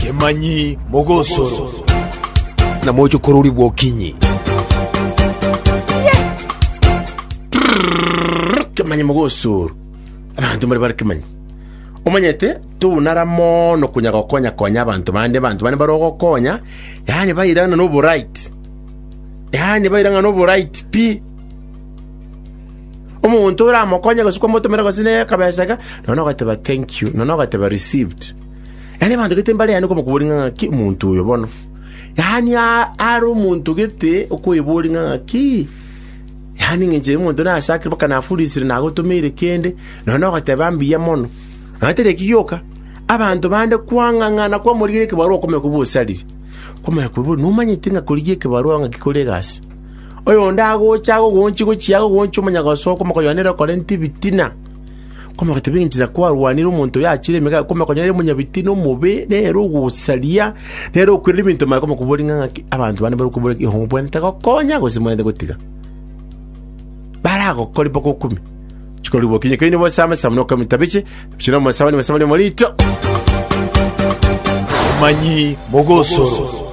Kemanyi mogosoro. Na mochokorori bw'okinyi. Kemanyi mogosoro. Abanto mbare bare kemanyi. Omanyete tobunara mono konya gokonya konya abanto bande, abanto bande bare ogokonya, yaani bairana na oborait. Yaani bairana na oborait pi. Omonto oramokonye gose kwamotomera gose ne akabesa iga, nonya ogateba thank you, nonya ogateba received. Yaani abanto gete mbare yaani okomokoboria ng'a ng'aki omonto oyo bono. Yaani are omonto gete okoeboria ng'a ng'aki, yaani eng'encho ya omonto nasakire mpaka nafurisire nagotomeire kende, nonya ogoteba mbuya mono. Nonya tari eki gioka, abanto bande kwang'ang'ana kwamorigereria ekebarua okomanya kobua osarire. Kwamanya koeboria nomanyete ng'a korigia ekebarua ng'aki kore egasi. Oyonde agocha agogonchia gochia agogonchia omanya gosoka omokoyo nere okorenta ebitina. Kwamanya goteba enchera kwarwanire omonto oyo achire emega kwamanya konya nere omonyabitina omobe nere ogosaria nere okwerera ebinto maya kwamanya koboria ng'a ng'aki abanto bande barokobora ki obwenerete gokonya gose mbwenerete gotiga. Baragokori mpaka okumie. Chikori bokinye keini bosame samuna okamita biche biche na omosabani mosabani omorito. Omanyi mogosoro.